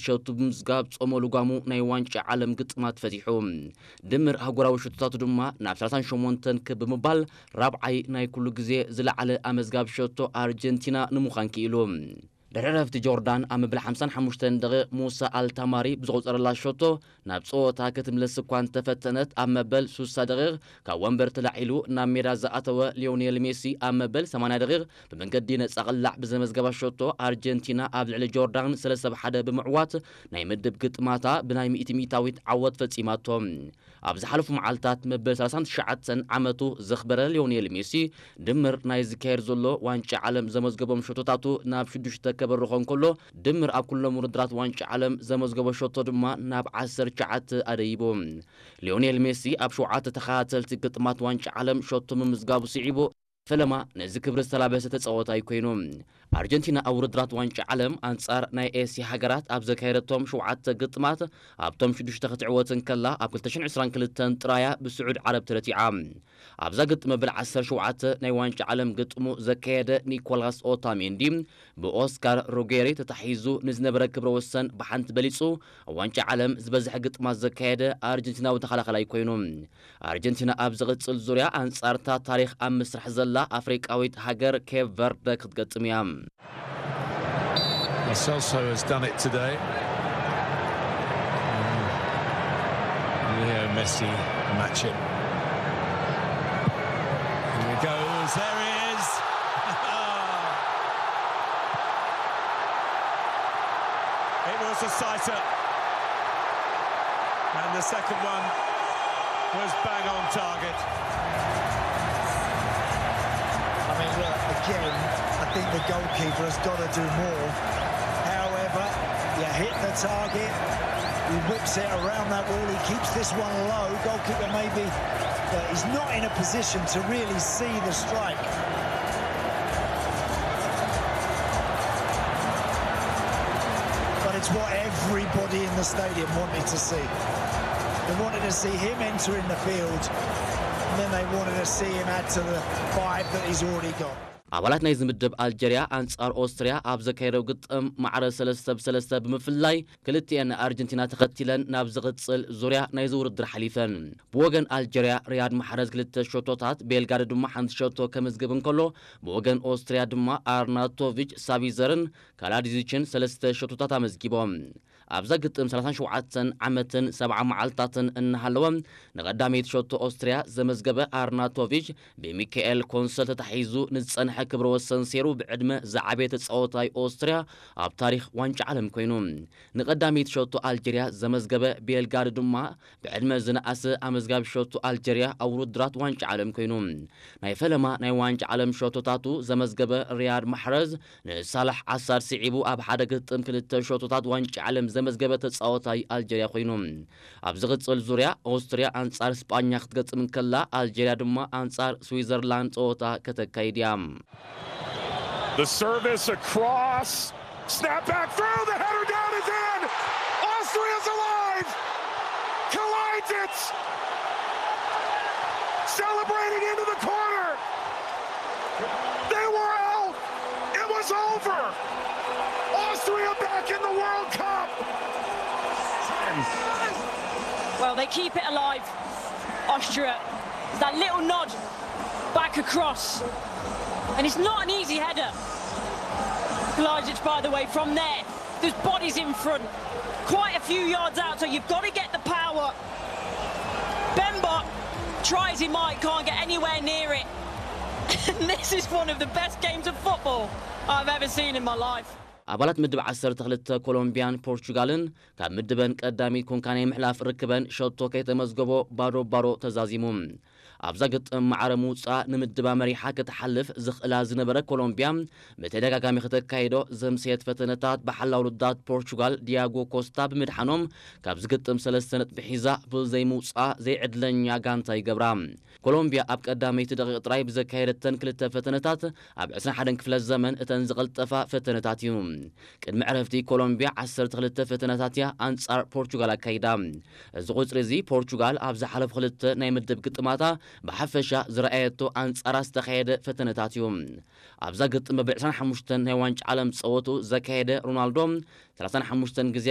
ሸቱ ብምዝጋብ ጾሞ ልጓሙ ናይ ዋንጫ ዓለም ግጥማት ፈቲሑ። ድምር ኣህጉራዊ ሸቶታቱ ድማ ናብ ሰላሳን ሸሞንተን ክብ ብምባል ራብዓይ ናይ ኩሉ ግዜ ዝለዓለ ኣመዝጋቢ ሸቶ ኣርጀንቲና ንምዃን ክኢሉ። ድሕሪ ዕረፍቲ ጆርዳን ኣብ መበል ሓምሳን ሓሙሽተን ደቂቕ ሙሳ ኣልታማሪ ብዝቖጸረላ ሸቶ ናብ ጸወታ ክትምለስ እኳ እንተፈተነት፣ ኣብ መበል ሱሳ ደቂቕ ካብ ወንበር ተላዒሉ ናብ ሜዳ ዝኣተወ ሊዮኔል ሜሲ ኣብ መበል ሰማንያ ደቂቕ ብመንገዲ ነጻ ቅላዕ ብዘመዝገባ ሸቶ ኣርጀንቲና ኣብ ልዕሊ ጆርዳን ሰለስተ ብ ሓደ ብምዕዋት ናይ ምድብ ግጥማታ ብናይ ሚእቲ ሚእታዊት ዓወት ፈጺማቶ። ኣብ ዝሓለፉ መዓልታት መበል ሰላሳን ትሽዓተን ዓመቱ ዘኽበረ ሊዮኔል ሜሲ ድምር ናይ ዝካየድ ዘሎ ዋንጫ ዓለም ዘመዝገቦም ሸቶታቱ ናብ ሽዱሽተ ከበርኾ እንከሎ፣ ድምር ኣብ ኩሎም ውድድራት ዋንጫ ዓለም ዘመዝገቦ ሸቶ ድማ ናብ ዓሰርተ ትሽዓተ ኣደይቡ። ሊዮኔል ሜሲ ኣብ ሸውዓተ ተኸታተልቲ ግጥማት ዋንጫ ዓለም ሸቶ ምምዝጋቡ ስዒቡ፣ ፈለማ ነዚ ክብሪ ዝተላበሰ ተጻዋታይ ኮይኑ። ኣርጀንቲና ኣብ ውድድራት ዋንጫ ዓለም ኣንጻር ናይ ኤስያ ሃገራት ኣብ ዘካየደቶም ሸውዓተ ግጥማት ኣብቶም ሽዱሽተ ክትዕወት እንከላ፣ ኣብ ክልተ ሽሕን ዕስራን ክልተን ጥራያ ብስዑድ ዓረብ ተረቲዓ። ኣብዛ ግጥም መበል ዓሰርተ ሸውዓተ ናይ ዋንጫ ዓለም ግጥሙ ዘካየደ ኒኮላስ ኦታሜንዲ ብኦስካር ሮጌሪ ተታሒዙ ንዝነበረ ክብረ ወሰን ብሓንቲ በሊጹ፣ ኣብ ዋንጫ ዓለም ዝበዝሐ ግጥማት ዘካየደ ኣርጀንቲናዊ ተኸላኻላይ ኮይኑ። ኣርጀንቲና ኣብ ዝቕጽል ዙርያ ኣንጻርታ ታሪኽ ኣብ ምስራሕ ዘላ ኣፍሪቃዊት ሃገር ኬፕ ቨርደ ክትገጥም እያ። Lo Celso has done it today. Leo Messi match him. Here he goes. There he is. It was a sighter. And the second one was bang on target. I mean, look, again, I think the goalkeeper has got to do more. However, you hit the target, he whips it around that wall, he keeps this one low. Goalkeeper maybe, but he's not in a position to really see the strike. But it's what everybody in the stadium wanted to see. They wanted to see him entering the field, and then they wanted to see him add to the five that he's already got. ኣባላት ናይዚ ምድብ ኣልጀርያ ኣንጻር ኦስትርያ ኣብ ዘካየደው ግጥም ማዕረ ሰለስተ ብ ሰለስተ ብምፍላይ ክልቲኤን ኣርጀንቲና ተኸቲለን ናብ ዝቕጽል ዙርያ ናይዚ ውድድር ሓሊፈን። ብወገን ኣልጀርያ ሪያድ ማሕረዝ ክልተ ሸቶታት፣ ቤልጋሪ ድማ ሓንቲ ሸቶ ከምዝግብ እንከሎ፣ ብወገን ኦስትርያ ድማ ኣርናቶቪች ሳቢዘርን ካላዲዚችን ሰለስተ ሸቶታት ኣመዝጊቦም። ኣብዛ ግጥም ሰላሳን ሸውዓተን ዓመትን ሰብዓ መዓልታትን እናሃለወ ንቐዳመይቲ ሸቶ ኦስትርያ ዘመዝገበ ኣርናቶቪች ብሚካኤል ኮንሰል ተታሒዙ ንዝጸንሐ ክብረ ወሰን ሴሩ ብዕድመ ዝዓበየ ተጻወታይ ኦስትርያ ኣብ ታሪኽ ዋንጫ ዓለም ኮይኑ። ንቐዳመይቲ ሸቶ ኣልጀርያ ዘመዝገበ ቤልጋሪ ድማ ብዕድመ ዝነኣሰ ኣመዝጋቢ ሸቶ ኣልጀርያ ኣብ ውድድራት ዋንጫ ዓለም ኮይኑ። ናይ ፈለማ ናይ ዋንጫ ዓለም ሸቶታቱ ዘመዝገበ ሪያድ ማሕረዝ ንሳላሕ ዓሳድ ስዒቡ ኣብ ሓደ ግጥም ክልተ ሸቶታት ዋንጫ ዓለም ዘመዝገበ ተጻወታይ ኣልጀርያ ኮይኑ። ኣብ ዝቕጽል ዙርያ ኦስትርያ ኣንጻር ስጳኛ ክትገጥም እንከላ ኣልጀርያ ድማ ኣንጻር ስዊዘርላንድ ጸወታ ከተካይድ እያ። The service across. Snap back through. The header down is in. Austria's alive. Collides it. Celebrating into the corner. They were out. It was over. Austria back in the World Cup. Well, they keep it alive, Austria. It's that little nod back across. And it's not an easy header. Kalajdzic, by the way, from there. There's bodies in front. Quite a few yards out, so you've got to get the power. Bemba tries he might, can't get anywhere near it. And this is one of the best games of football I've ever seen in my life. ኣባላት ምድብ ዓሰርተ ክልተ ኮሎምቢያን ፖርቹጋልን ካብ ምድበን ቀዳሚት ኮንካ ናይ ምሕላፍ ርክበን ሸቶ ከይተመዝገቦ ባዶ ባዶ ተዛዚሙ። ኣብዛ ግጥም ማዕረ ምውፃእ ንምድባ መሪሓ ክትሓልፍ ዝኽእላ ዝነበረ ኮሎምቢያ ብተደጋጋሚ ከተካይዶ ዘምሰየት ፈተነታት ብሓላው ውድዳት ፖርቹጋል ዲያጎ ኮስታ ብምድሓኖም ካብዚ ግጥም ሰለስተ ነጥቢ ሒዛ ብዘይምውፃእ ዘይዕድለኛ ጋንታ ይገብራ። ኮሎምቢያ ኣብ ቀዳመይቲ ደቂቕ ጥራይ ብዘካየደተን ክልተ ፈተነታት ኣብ ዕስራን ሓደን ክፍለ ዘመን እተን ዝቐልጠፋ ፈተነታት እዩ። ቅድሚ ዕረፍቲ ኮሎምቢያ ዓሰርተ ክልተ ፈተነታት እያ ኣንጻር ፖርቹጋል ኣካይዳ። እዚ ቁጽሪ እዚ ፖርቹጋል ኣብ ዝሓለፉ ክልተ ናይ ምድብ ግጥማታ ብሓፈሻ ዝረኣየቶ ኣንጻራ ዝተኻየደ ፈተነታት እዩ። ኣብዛ ግጥም መበል ዕስራን ሓሙሽተን ናይ ዋንጫ ዓለም ጸወቱ ዘካየደ ሮናልዶ ሰላሳን ሓሙሽተን ግዜ